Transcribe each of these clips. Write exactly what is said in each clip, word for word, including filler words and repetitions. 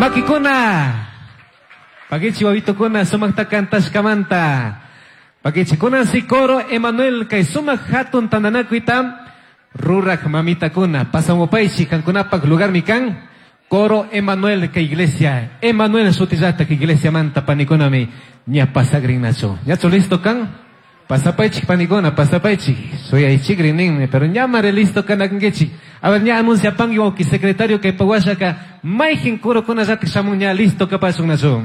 Makikuna. Pakichi wawitukuna sumaqta kantashkamanta. Pakichi kunan si coro Emanuel kay sumaq hatun tantanakuyta rurak mamitakuna. Pasamupaychi kankunapak lugarmi kan. Coro Emanuel kay iglesia. Emanuel sutillata kay iglesia manta panikunami ña pasagrinnachu. ¿Ñachu listo kan? Pasapaychik panikuna, pasapaychik. Suyaychikri ninmi, pero ñamare listo kanakankichik. A ver, ña anuncia pangi wawki secretario kay pawashaka mayqin corokunallatik shamun ña listo kapashunnachu.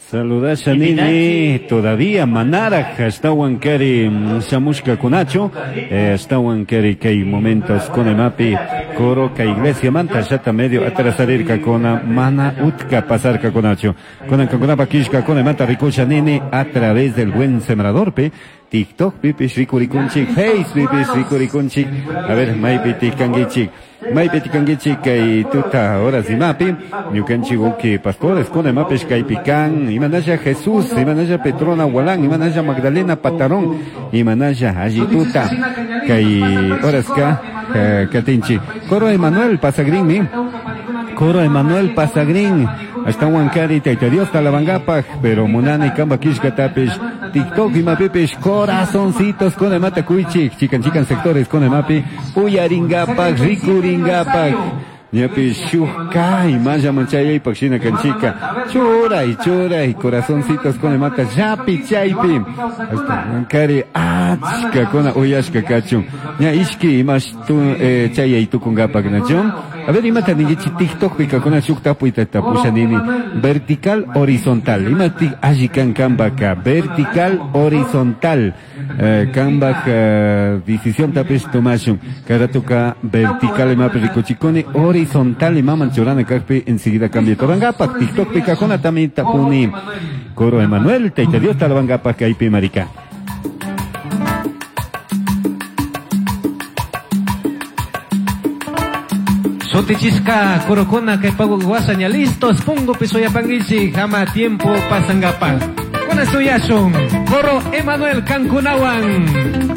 Saludasha nini, todavía manaraj ashtawan kari shamushka kunachu, eh, ashtawan kari kay momentos kunemapi coro kay iglesia manta llata medio atrasarirka kuna mana utka pasarka kunachu. Kunan kankunapa kishka kunemanta rikusha nini a través del buen sembrador pe TikTok pipish rikurikunchik, Face pipish rikurikunchik. A ver, maypi tikankichik. Maypi tikankichik kay tuta horas imapi, ñukanchik uki pastores kunemapish kaypi kan, imanalla Jesús, imanalla Petrona Walán, imanalla Magdalena Patarón, imanalla allituta kay horas ka eh, katinchik. Coro Emanuel Pasagrinmi. Coro Emanuel Pasagrin. Ashtawan kari Tayta Dios talabangapaj, pero munani kamba kishkatapish, TikTok imapipish, corazoncitos con emata kuichik, chikan chikan sectores con emapi, uyaringapaj, rikuringapaj. Ñapi shuj maya manchayaypaj shina kanchika, churay, churay, corazoncitos con emata, llapi chaypi. Ashtawan kari achka kuna uyashka kachun. Ña ishki imash tu eh, chayay tukungapak nachun. A ver, imata ninkichi TikTok pika kuna shuk tapuyta tapusha nini. Vertical, horizontal. Imati alli kan kambaka. Vertical, horizontal. Eh, kambak eh, decisión tapish tomashun. Karatuka vertical imapi rikuchikuni. Horizontal imaman churana kakpi enseguida cambia torangapak. TikTok pika kuna también tapuni. Coro Emanuel, Tayta Dios talabangapak kaypi marika. Sutichishka corokuna kay pago washa ña listos pungo pisoyapankichik jama tiempo pasangapak. Kuna suyashun coro Emanuel Kankunawan.